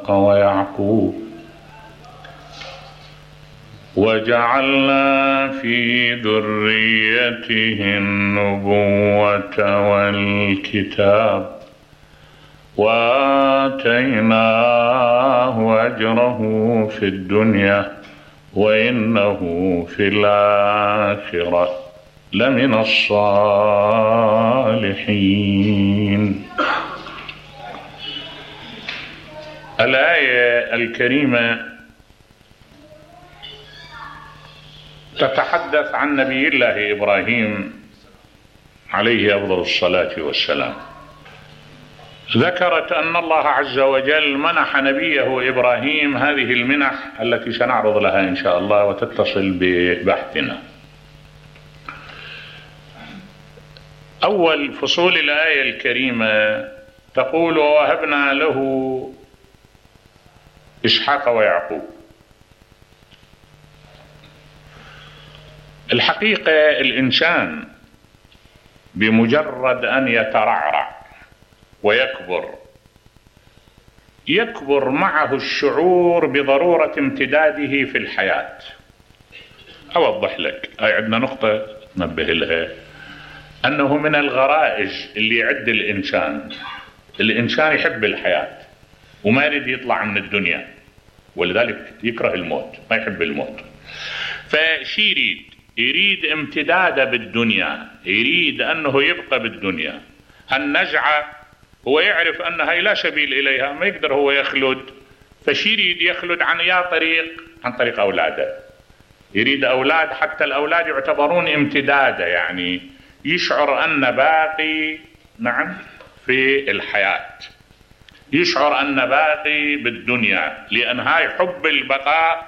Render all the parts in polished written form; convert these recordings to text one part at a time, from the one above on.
إسحاق ويعقوب وجعلنا في ذريته النبوة والكتاب وآتيناه أجره في الدنيا وإنه في الآخرة لمن الصالحين. الآية الكريمة تتحدث عن نبي الله إبراهيم عليه أفضل الصلاة والسلام. ذكرت أن الله عز وجل منح نبيه إبراهيم هذه المنح التي سنعرض لها إن شاء الله وتتصل ببحثنا. أول فصول الآية الكريمة تقول ووهبنا له إسحاق ويعقوب. الحقيقة الإنسان بمجرد أن يترعرع يكبر معه الشعور بضرورة امتداده في الحياة. أوضح لك، هاي عندنا نقطة ننبه لها، أنه من الغرائز اللي يعد الإنسان يحب الحياة وما يريد يطلع من الدنيا، ولذلك يكره الموت، ما يحب الموت. فشي يريد امتداده بالدنيا، يريد أنه يبقى بالدنيا. هالنزعة هو يعرف أن هاي لا سبيل إليها، ما يقدر هو يخلد، فشي يريد يخلد عن طريق أولاده. يريد أولاد، حتى الأولاد يعتبرون امتداده، يعني يشعر أن باقي في الحياة، يشعر أن باقي بالدنيا، لأن هاي حب البقاء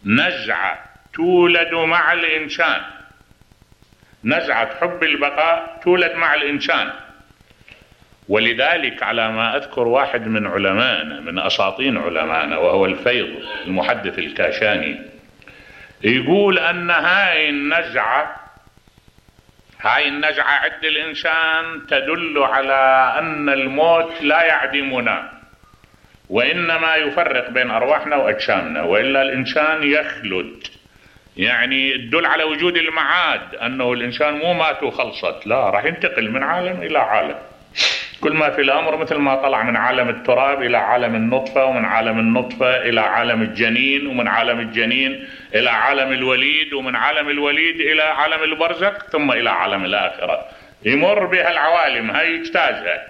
نزعة تولد مع الإنسان، نزعة حب البقاء تولد مع الإنسان. ولذلك على ما أذكر واحد من علمائنا، من أساطين علمائنا، وهو الفيض المحدث الكاشاني، يقول أن هاي النزعة عند الإنسان تدل على أن الموت لا يعدمنا، وإنما يفرق بين أرواحنا وأجسامنا، وإلا الإنسان يخلد، يعني تدل على وجود المعاد، أنه الإنسان مو مات وخلصت، لا، راح ينتقل من عالم إلى عالم. كل ما في الأمر مثل ما طلع من عالم التراب إلى عالم النطفة، ومن عالم النطفة إلى عالم الجنين، ومن عالم الجنين إلى عالم الوليد، ومن عالم الوليد إلى عالم البرزخ، ثم إلى عالم الآخرة. يمر بها العوالم، هاي يجتازها.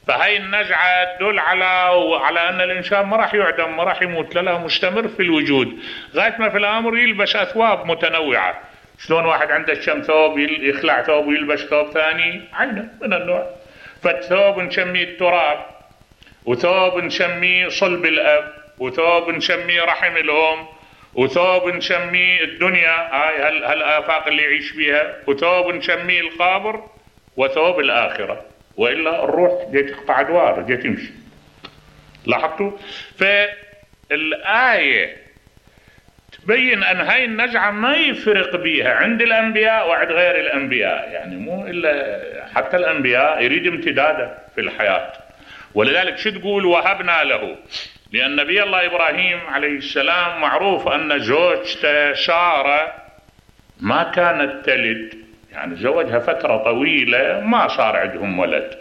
فهاي النزعة تدل على أن الإنسان ما راح يعدم، ما راح يموت، لا، مستمر في الوجود غاية ما في الأمر يلبس أثواب متنوعة. شلون واحد عنده كم ثوب يخلع ثوب ويلبس ثوب ثاني، عينه من النوع. فالثوب نسميه التراب، وثوب نسميه صلب الأب، وثوب نسميه رحم الأم، وثوب نسميه الدنيا، هالآفاق اللي يعيش فيها، وثوب نسميه القبر، وثوب الآخرة. وإلا الروح جاي تقطع أدوار، جاي تمشي. لاحظتوا؟ فالآية تبين أن هاي النزعة ما يفرق بيها عند الأنبياء وعند غير الأنبياء، يعني مو إلا حتى الأنبياء يريد امتداده في الحياة. ولذلك شو تقول وهبنا له؟ لأن نبي الله إبراهيم عليه السلام معروف أن زوجته سارة ما كانت تلد، يعني زوجها فترة طويلة ما صار عندهم ولد،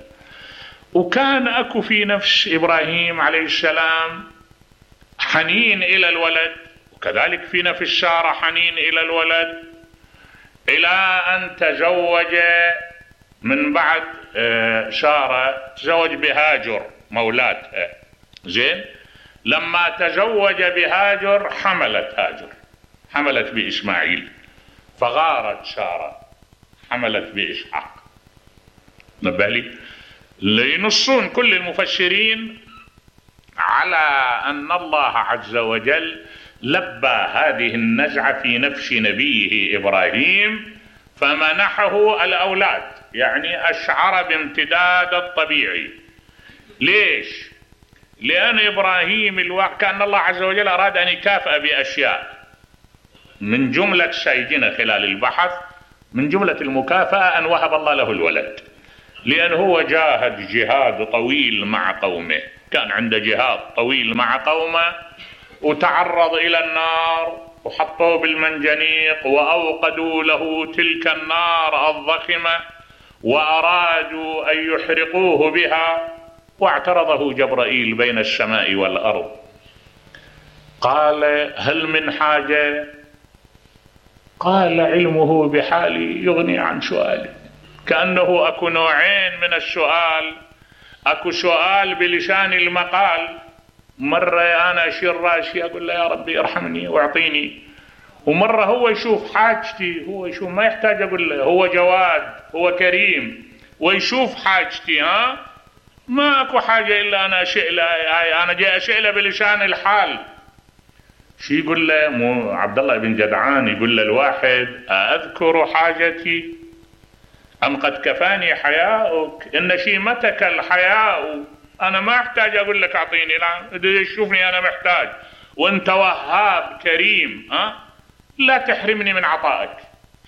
وكان أكو في نفس إبراهيم عليه السلام حنين إلى الولد، وكذلك في نفس سارة حنين إلى الولد، إلى أن تزوج من بعد سارة، تزوج بهاجر مولاتها. زين، لما تزوج بهاجر حملت بإسماعيل، فغارت سارة حملت بإسحاق. نبالي لينصون كل المفسرين على أن الله عز وجل لبى هذه النزعة في نفس نبيه إبراهيم فمنحه الأولاد، يعني أشعر بامتداد الطبيعي. ليش؟ لأن إبراهيم كان الله عز وجل أراد أن يكافئ بأشياء، من جملة سيجنا خلال البحث، من جملة المكافأة أن وهب الله له الولد، لأن هو جاهد جهاد طويل مع قومه، كان عنده جهاد طويل مع قومه وتعرض إلى النار وحطوه بالمنجنيق وأوقدوا له تلك النار الضخمة وأرادوا أن يحرقوه بها، واعترضه جبرائيل بين السماء والأرض. قال: هل من حاجة؟ قال: علمه بحالي يغني عن سؤالي. كأنه أكو نوعين من السؤال، أكو سؤال بلسان المقال، مرة أنا أشير راسي أقول له يا ربي ارحمني واعطيني، ومرة هو يشوف حاجتي، هو يشوف ما يحتاج أقول له، هو جواد، هو كريم ويشوف حاجتي. ما أكو حاجة إلا أنا أشئله، أنا جاي أشئله بلسان الحال. شو يقول له؟ مو عبد الله بن جدعان يقول له الواحد: أذكر حاجتي أم قد كفاني حياؤك؟ إن شيمتك الحياء، أنا ما أحتاج أقول لك أعطيني، لا تشوفني أنا محتاج، وأنت وهاب كريم، لا تحرمني من عطائك.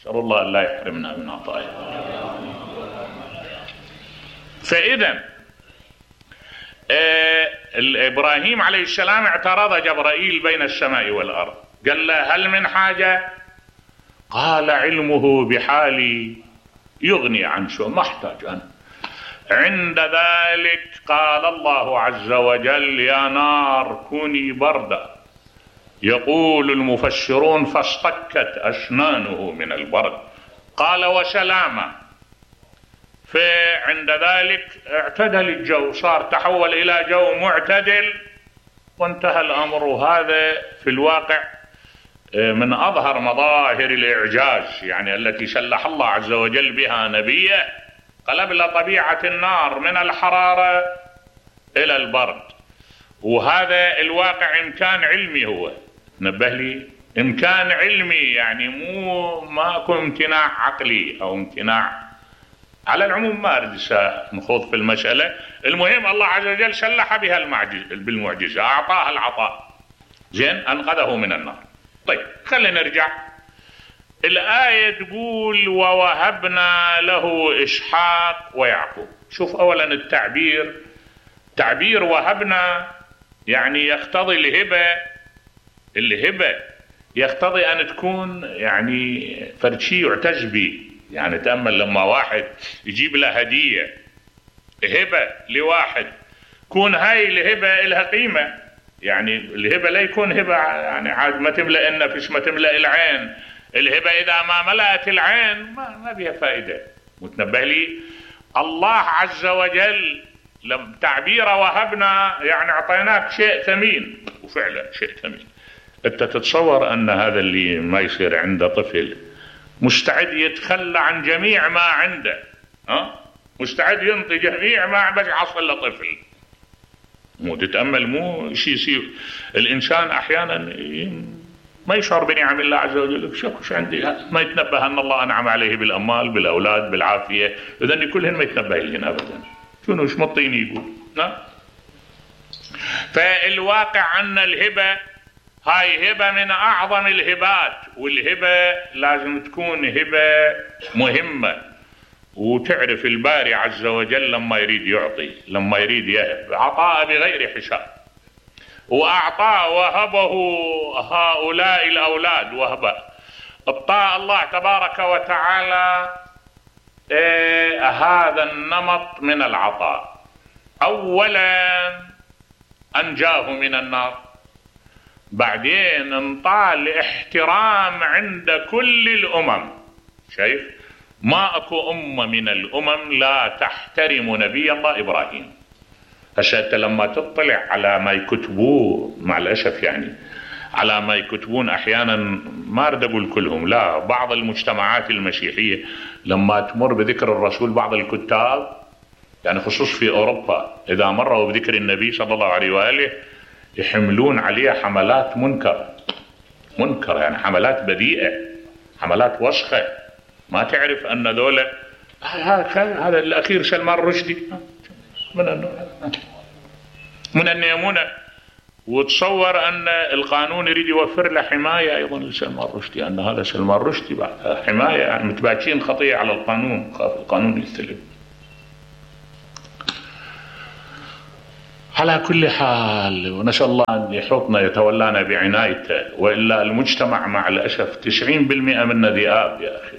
أسأل الله أن لا يحرمنا من عطائك. فإذا إبراهيم عليه السلام اعترض جبرائيل بين السماء والأرض، قال له: هل من حاجة؟ قال: علمه بحالي يغني عن سؤال، ما احتاج أنا. عند ذلك قال الله عز وجل: يا نار كوني بردا. يقول المفسرون: فاصطكت أسنانه من البرد. قال: وسلاما. فعند ذلك اعتدل الجو، صار تحول إلى جو معتدل وانتهى الأمر. هذا في الواقع من أظهر مظاهر الإعجاز، يعني التي سلح الله عز وجل بها نبيه، قلب له طبيعة النار من الحرارة إلى البرد. وهذا الواقع إمكان علمي، هو نبه لي إمكان علمي، يعني مو ماكو امتناع عقلي أو امتناع. على العموم ما أريد نخوض في المسألة، المهم الله عز وجل سلح بها بالمعجزة، أعطاها العطاء، زين، أنقذه من النار. طيب خلينا نرجع. الآية تقول: ووهبنا له إسحاق ويعقوب. شوف أولا التعبير، تعبير وهبنا يعني يقتضي الهبة يقتضي أن تكون يعني فرد شيء يعتز به. يعني تأمل لما واحد يجيب له هدية، هبة لواحد، كون هاي الهبة لها قيمة. يعني الهبة لا يكون هبة يعني عاد ما تملأ النفس، ما تملأ العين. الهبة إذا ما ملأت العين ما بها فائدة. متنبه لي الله عز وجل لم تعبير وهبنا يعني أعطيناك شيء ثمين، وفعلا شيء ثمين. أنت تتصور أن هذا اللي ما يصير عنده طفل مستعد يتخلى عن جميع ما عنده، مستعد ينطي جميع ما بس يحصل له طفل. مو تتأمل، مو شيء يصير. الإنسان أحيانا ما يشعر بنعم الله عز وجل، شو عندي، ما يتنبه أن الله أنعم عليه بالأموال، بالأولاد، بالعافية، إذن كلهن ما يتنبه لهن أبدا. شنو ايش مطيني يقول. فالواقع أن الهبة هاي هبة من أعظم الهبات، والهبة لازم تكون هبة مهمة. وتعرف الباري عز وجل لما يريد يعطي، لما يريد يهب، عطاء بغير حساب. وأعطاه وهبه هؤلاء الأولاد وهبة. ابطاء الله تبارك وتعالى هذا النمط من العطاء. أولا أنجاه من النار، بعدين انطال احترام عند كل الأمم. شايف ما أكو أمة من الأمم لا تحترم نبي الله إبراهيم. هسه لما تطلع على ما يكتبوه، مع الأسف يعني على ما يكتبون أحيانا، ما أريد أقول كلهم، لا، بعض المجتمعات المسيحية لما تمر بذكر الرسول، بعض الكتاب يعني خصوص في أوروبا إذا مروا بذكر النبي صلى الله عليه وآله يحملون عليه حملات منكر يعني حملات بذيئة، حملات وسخة. ما تعرف أن ذولا هذا الأخير سلمان رشدي من النيمونة، وتصور أن القانون يريد يوفر له حماية أيضا لسلمان رشدي، أن هذا سلمان رشدي بعد حماية، يعني متباكين خطية على القانون، خاف القانون يستلم. على كل حال، ونسأل الله أن يحوطنا يتولانا بعنايته، وإلا المجتمع مع الأسف 90% منه ذئاب يا أخي،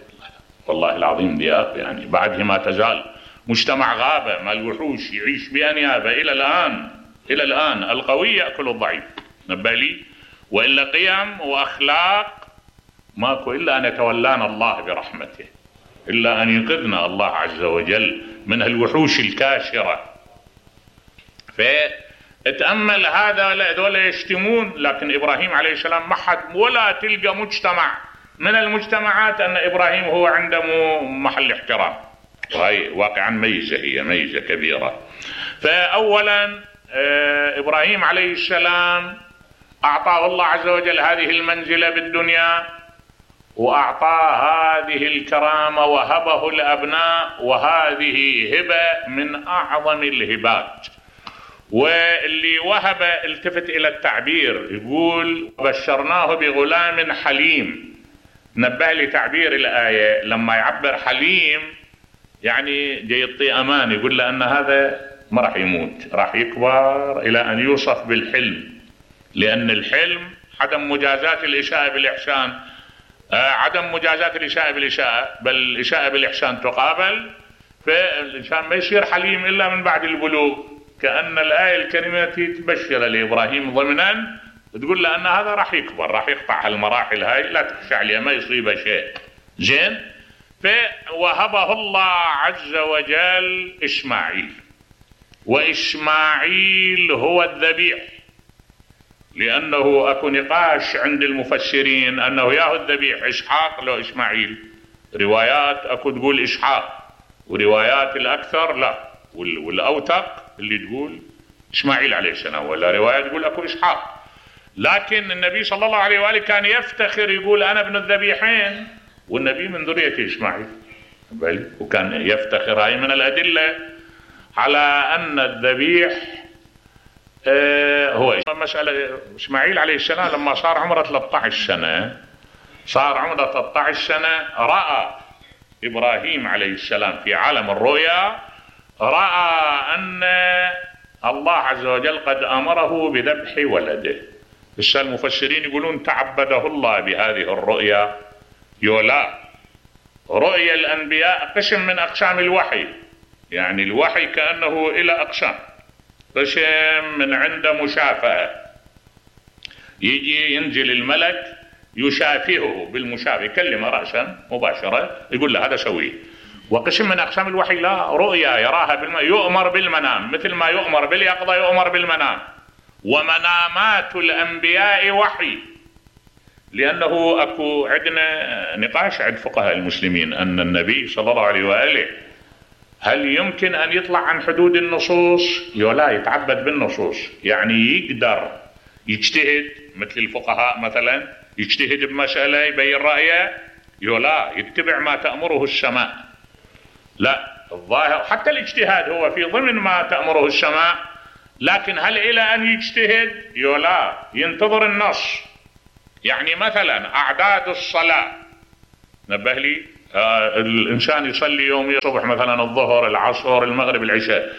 والله العظيم ذئاب. يعني بعده ما تزال مجتمع غابة مع الوحوش يعيش بأنيابة إلى الآن. إلى الآن القوي يأكل الضعيف، نبه لي، وإلا قيم وأخلاق ماكو إلا أن يتولانا الله برحمته، إلا أن ينقذنا الله عز وجل من الوحوش الكاشرة. فتأمل هذول يشتمون، لكن إبراهيم عليه السلام ما حد ولا تلقى مجتمع من المجتمعات أن إبراهيم هو عنده محل احترام، وهي واقعا ميزة، هي ميزة كبيرة. فأولا إبراهيم عليه السلام أعطاه الله عز وجل هذه المنزلة بالدنيا، وأعطاه هذه الكرامة، وهبه الأبناء، وهذه هبة من أعظم الهبات. واللي وهب التفت إلى التعبير، يقول بشرناه بغلام حليم. نبه لي تعبير الآية لما يعبر حليم يعني جاي يعطي أمان، يقول له أن هذا ما راح يموت، راح يكبر إلى أن يوصف بالحلم، لأن الحلم عدم مجازات الإساءة بالإحسان، عدم مجازات الإساءة بالإساءة، بل الإساءة بالإحسان تقابل. فالإنسان ما يصير حليم إلا من بعد البلوغ، كأن الآية الكريمة تبشر لإبراهيم ضمنا، تقول له أن هذا راح يكبر، راح يقطع هالمراحل هاي، لا تخشى عليه، ما يصيبه شيء. زين. فوهبه الله عز وجل إسماعيل، وإسماعيل هو الذبيح، لأنه أكو نقاش عند المفسرين أنه ياهو الذبيح إسحاق لو إسماعيل. روايات أكو تقول إسحاق، وروايات الأكثر لا، والأوثق اللي تقول إسماعيل عليه السلام، ولا رواية تقول أكو إسحاق. لكن النبي صلى الله عليه وآله كان يفتخر يقول أنا ابن الذبيحين، والنبي من ذرية إسماعيل، وكان يفتخر. هاي من الأدلة على أن الذبيح هو مسألة. إسماعيل عليه السلام لما صار عمره 13 سنة، صار عمره 13 سنة، رأى إبراهيم عليه السلام في عالم الرؤيا، رأى أن الله عز وجل قد أمره بذبح ولده. المفسرين يقولون تعبده الله بهذه الرؤيا. يولا رؤيا الأنبياء قسم من أقسام الوحي، يعني الوحي كأنه إلى أقسام. قسم من عنده مشافهة، يجي ينزل الملك يشافهه بالمشافهة، يكلمه رأسا مباشرة يقول له هذا سويه. وقسم من أقسام الوحي لا، رؤيا يراها يؤمر بالمنام، مثل ما يؤمر باليقظة يؤمر بالمنام. ومنامات الأنبياء وحي، لأنه أكو عندنا نقاش عند فقهاء المسلمين أن النبي صلى الله عليه وآله هل يمكن أن يطلع عن حدود النصوص؟ لا، يتعبد بالنصوص، يعني يقدر يجتهد مثل الفقهاء مثلا، يجتهد بمسألة يبين رأيه، لا يتبع ما تأمره السماء. لا، الظاهر حتى الاجتهاد هو في ضمن ما تأمره السماء، لكن هل إلى أن يجتهد؟ لا، ينتظر النص. يعني مثلا أعداد الصلاة، نبه لي، الإنسان يصلي يوم الصبح مثلا الظهر العصر المغرب العشاء،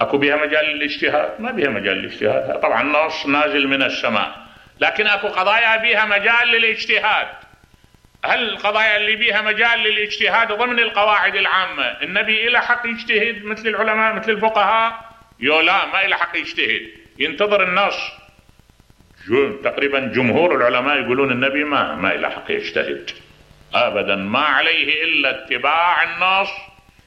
أكو بها مجال للاجتهاد؟ ما بها مجال للاجتهاد، طبعا النص نازل من السماء، لكن أكو قضايا بها مجال للاجتهاد. هل القضايا اللي بها مجال للاجتهاد ضمن القواعد العامة النبي إلى حق يجتهد مثل العلماء مثل الفقهاء؟ لا، ما إلى حق يجتهد، ينتظر النص. تقريبا جمهور العلماء يقولون النبي ما إلى حق يجتهد أبدا، ما عليه إلا اتباع النص،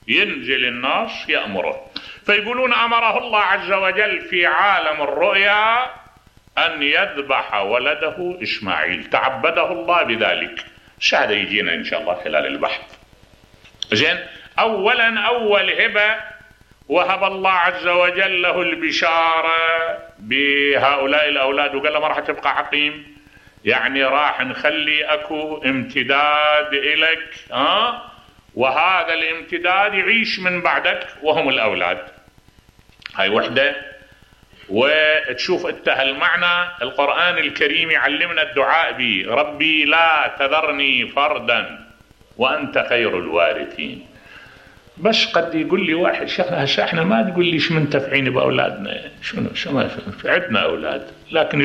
ينزل النص يأمره. فيقولون أمره الله عز وجل في عالم الرؤيا أن يذبح ولده إسماعيل، تعبده الله بذلك. هذا يجينا إن شاء الله خلال البحث. زين. أولا أول هبة وهب الله عز وجل له البشارة بهؤلاء الأولاد، وقال له ما راح تبقى عقيم، يعني راح نخلي أكو امتداد إلك، وهذا الامتداد يعيش من بعدك وهم الأولاد. هاي وحدة. وتشوف انت هالمعنى القرآن الكريم يعلمنا الدعاء به، ربي لا تذرني فردا وأنت خير الوارثين. بس قد يقول لي واحد هسه احنا ما تقول ليش منتفعين باولادنا، شنو ما عندنا اولاد، لكن